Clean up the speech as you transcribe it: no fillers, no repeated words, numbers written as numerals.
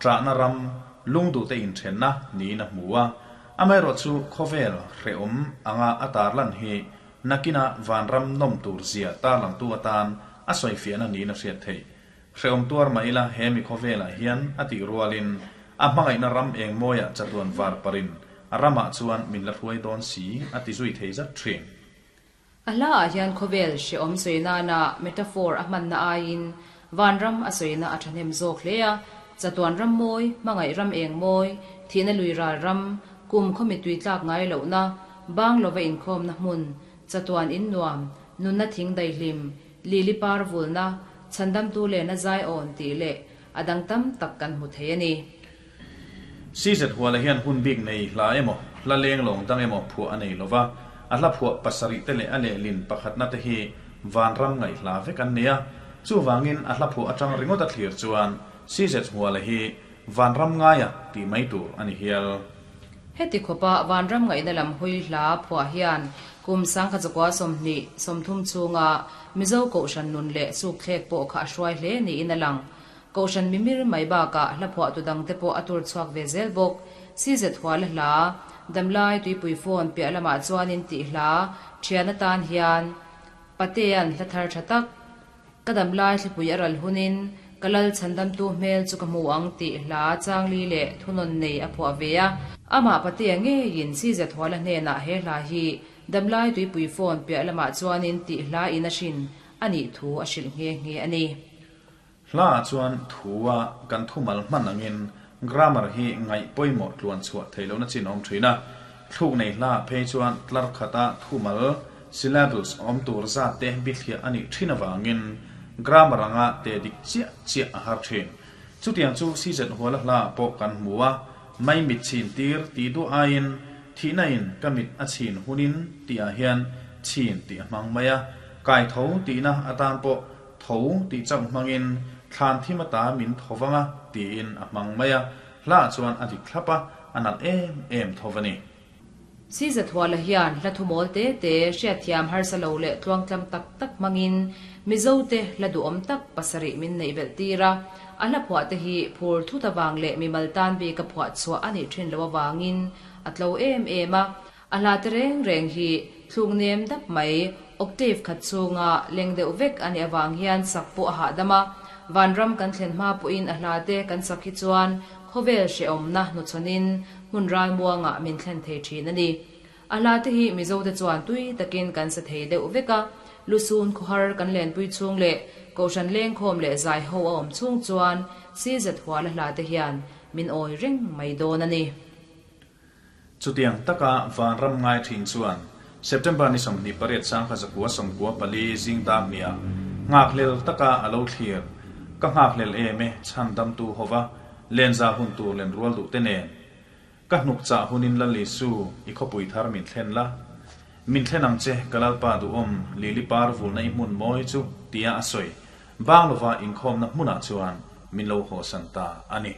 ṭahna ram, lungduhte inṭhenna niin a hmu a. Amaherawhchu khawvel hrehawm anga a tarlan hi nakina vanram nawm tur zia tarlangtu atan a sawifiahna niin a hriat theih. Hrehawm tuar mah ila he mi khawvelah hian a tih rualin a hmangaihna ram eng mawiah chatuan var parin a ramah chuan min la hruai dawn si a ti zui thei zat thin. A hlaah hian khawvel hrehawm sawi nana metaphor a hmanna aiin vanram a sawina a thahnem zawk hle a, chatuan ram mawi, hmangaih ram eng mawi, thihna lui ral ram, kum khawmi tui tlak ngai lohna, bang lova inkhawmna hmun, chatuan in nuam, nunna thing daihlim, lili par vulna, chhandamtu lehna zai awn tih leh a dang tam tak kan hmu thei a ni. CZ Huala hian hun bik nei hla emaw, hla leng lawng dang emaw phuah a nei lo va, a hla phuah pasarih te leh a lehlin pakhatna te hi vanram ngaih hla vek an ni a. Chuvangin a hla phuah atang ringawt a thlir chuan CZ Huala hi vanram ngaia tih mai tur a ni hial. Heti khawpa vanram ngaihna lam hawi hla phuah hian kum 1930 chhunga Mizo Kohhran nun leh sukthlek pawh kha a hruai hle niin a lang. Kohhran mimir mai bakah hla phuahtu dangte pawh a tur chhuak ve zel bawk. CZ Huala hla, Damlai Tuipui Phone piah lamah chuanin tih hla thian atan hian Patea'n hla thar tha tak, Ka damlai thlipui a ral hunin ka lal chhandamtu hmel chu ka hmu ang tih hla changli leh thunawn nei a phuah ve a. Amah Patea ngeiin CZ Huala hnenah he hla hi Damlai Tuipui Phone piah lamah chuanin tih hla in a hrin a nih thu a hrilh nghe nghe a ni. Hla ah chuan thu a kan thumal hman angin grammar hi ngaih pawimawh tluan chhuah theih lohna chin a awm thin a. Thluk nei hla ah phei chuan tlar khata thumal, syllables, awm tur zat te bithliah a nih thin avangin grammar anga te dik chiah chiah a har thin. Chutiang chu CZ Huala hla ah pawh kan hmu a, mai mit chhin tir tih duah aiin thihna in ka mit a chhin hunin tih ah hian chhin tih a hmang mai a, kai tho tihna atan pawh Tho tih chauh hmangin thlan thim ata min tho vang a tiin a hmang mai a, hla chuan a dik thlap a, a nalh em em tho va ni. Siza Thuala hian hla thumawl te te hriatthiam harsa lo leh tluangtlam tak tak hmangin Mizote hla duhawm tak pasarih min neih belh tir a, a hla phuah te hi phur thut avang leh mimal tan bik a phuah chhuah a nih thin loh avangin a tlo em em a, A hla te reng reng hi thluk nem dap mai, octave khat chhunga leng deuh vek a nih avang hian sak pawh a hahdam a. Vanram kan thlen hma pawhin a hla te kan sak hi chuan khawvel hrehawmna hnuchhawnin hmun ralmuangah min thlen thei thin a ni. A hla te hi Mizote chuan tui takin kan sa thei deuh vek a, lusun khawhar kan lenpui chhung leh Kohhran lengkhawm leh zaiho a awm chhung chuan CZ Huala hla te hian min awi reng mai dawn a ni. Chutiang taka vanram ngai thin chuan September ni 28 1994 zing dak hniah nghakhlel taka a lo thlir ka nghakhlel em e chhan damtu hova lenza hun tur len rual duh te nen ka hnuk chah hunin Lal Isu i khawpui thar min thlen la min thlen ang che ka Lalpa duhawm lili par vulna i hmun mawi chu tia a sawi bang lova inkhawmna hmunah chuan min lo hawsan ta a ni.